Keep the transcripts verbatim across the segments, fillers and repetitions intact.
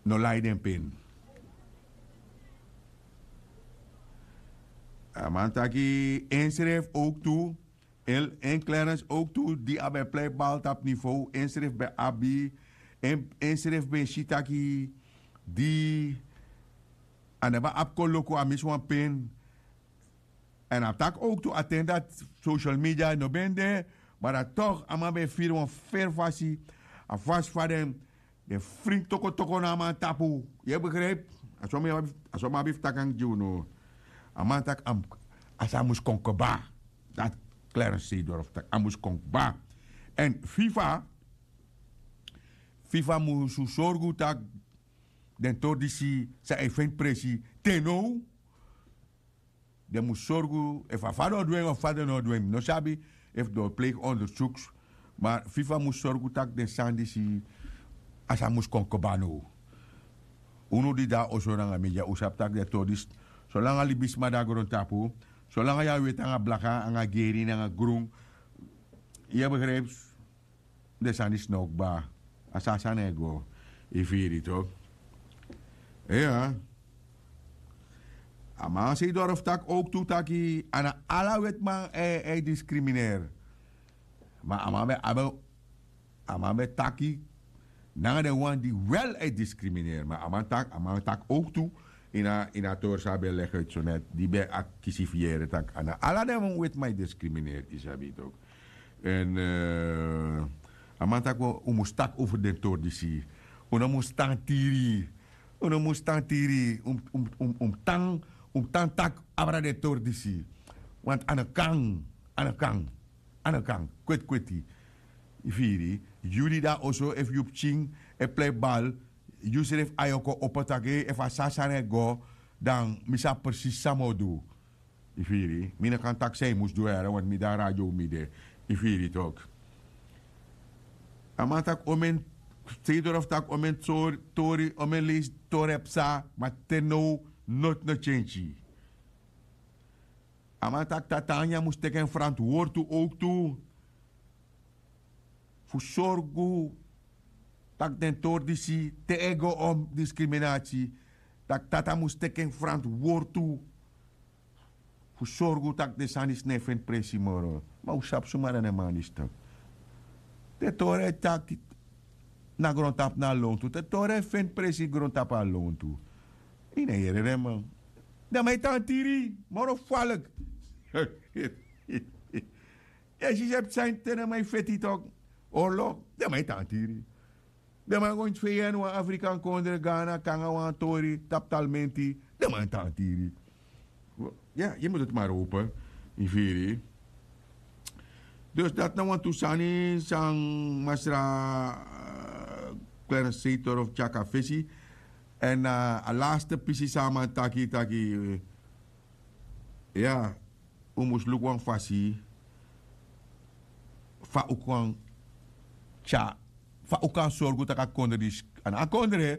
no lai den pen. A man taki ensrefi owktu, en en klerens owktu di a ben plei bal tapu nivow ensrefi ben abi, ensrefi ben si taki di a naba abi kon luku a misi wan pen. Èn a taki owktu a ten dati social media no ben de, ma dati tok' a man ben firi wan feri fasi. A fasi fa den den fringi tokotoko na a man tapu. Yu e begripi? A so mi abi fu taki nanga gi unu. A man taki a sa mus kon kba. Dati klerens seidorf taki a mus kon kba. Èn fifa fifa mus sorgu tak' den tori disi san e feni presi te now. Den mus sorgu efu a fadon du en of fadon no du en mi no sabi, efu den o pleigi ondersuks. Ma fifa mus sorgu tak' den sani disi a sa mus kon kba now. Unu di de na oso nanga media un sabi tak' den tori disi solanga libisma de na grontapu, solanga yu a weti nanga blaka nanga geri nanga grun, yu e begripi? Den sani disi no o kba. A so a sani e go. Yu firi yu toki? Iya. A man sei doro fu taki owktu taki a na ala wetiman e e diskrimineer. Ma a man ben abi a man ben taki nanga den wan di wel e diskrimineer ma a man taki a man taki owktu ini a tori san a ben legi uiti so net di ben akisi fu yere tak' a na ala den wetiman e diskrimineer yu sabi yu toki? Èn a man taki un mus taki over den tori disi. Un no mus tan tiri. Un no mus tan tiri. Un mus tan un mus tan taki abra den tori disi. Want a no kan a no kan a no kan kweti kweti. Yu firi? Yu di de na oso efu yu pikin e plei bal, yu srefi ayo kon opo taki efu a so a sani e go, dan mi sabi presisi san mi o du. Yu firi? Mi no kan taki san yu mus du here want mi de na radio mi de. Yu firi toki? A man taki omen, seidoro fu taki omen tori omen leisi tori e psa ma te now noti no tyenki. A man taki tata anya mus teki en frantwortu owktu fu sorgu tak' den tori disi te e go on diskriminasi. Tak' tata mus teki en frantwortu fu sorgu tak' den sani disi no e feni presi moro. Ma un sabi suma na den man disi toki? Den tori e taki na grontapu na a lontu den tori e feni presi grontapu na a lontu. Yu no e yere den man. Den man e tan tiri moro falik. Yu e si se psa ini te den man e feti toki? Orlok den man e tan tiri. Den man e go ini fei en wan afrikan kondre gana kon nanga wan tori tapu talmenti. Den man e tan tiri. Ya yu mus doti mari open. Yu firi? Dus dati na wantu sani san masra klerenseitor of tyaki a fesi. Èn a laste pisi san a man taki taki ya un mus luku wan fasi fa un kan tya fa un kan sorgu tak' a kondre disi a na a kondre.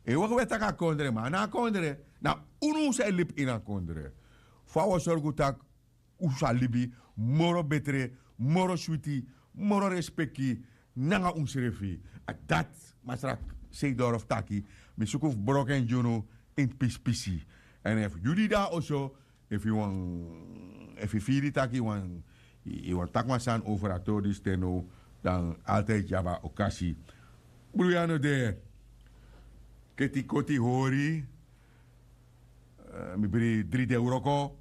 Ewe gewe taki a kondre ma a na a kondre. Na unu un sa e libi ini a kondre fa un o sorgu tak' un sa libi moro betre, moro switi, moro respeki nanga unsrefi. A dati masra seidoro fu taki mi suku fu broko en gi unu ini pispisi. Èn efu yu di de na oso efu yu wani efu yu firi tak' yu wani yu wani taki wan sani over a tori disi te now, dan altidi yu abi a okasi. Bruya no de. Keti koti hori. Mi bri dri de wroko.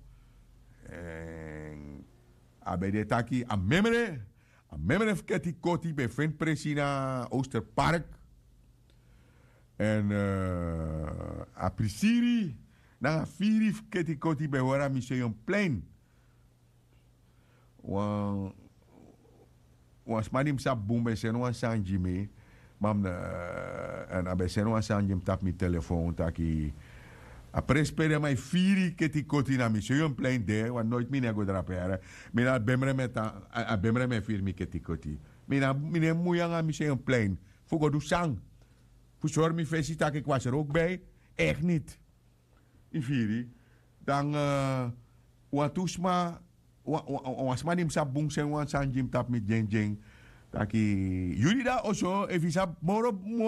A ben de taki a memre a memre fu keti koti ben feni presi na osterpark. Èn a prisiri nanga firi fu keti koti ben hori a museum plein. Wan wan sma di mi sabi bun ben seni wan sani gi mi. Ma mi no èn a ben seni wan sani gi mi tapu mi telefon taki a presi pe den man e firi ketikoti na mi seion plein de wan noiti mi no e go drape yara. Mi na a bemre mi e tan a bemre mi e firi mi ketikoti. Mi na mi no e mui nanga mi seion plein fu go du san fu sori mi fesi tak' eki wasi rowkbei. Eki niti. Yu firi? Dan wantu sma wan sma di mi sabi bun seni wan sani gi mi tapu mi dyendyen taki yu di de na oso efu yu sabi moro moro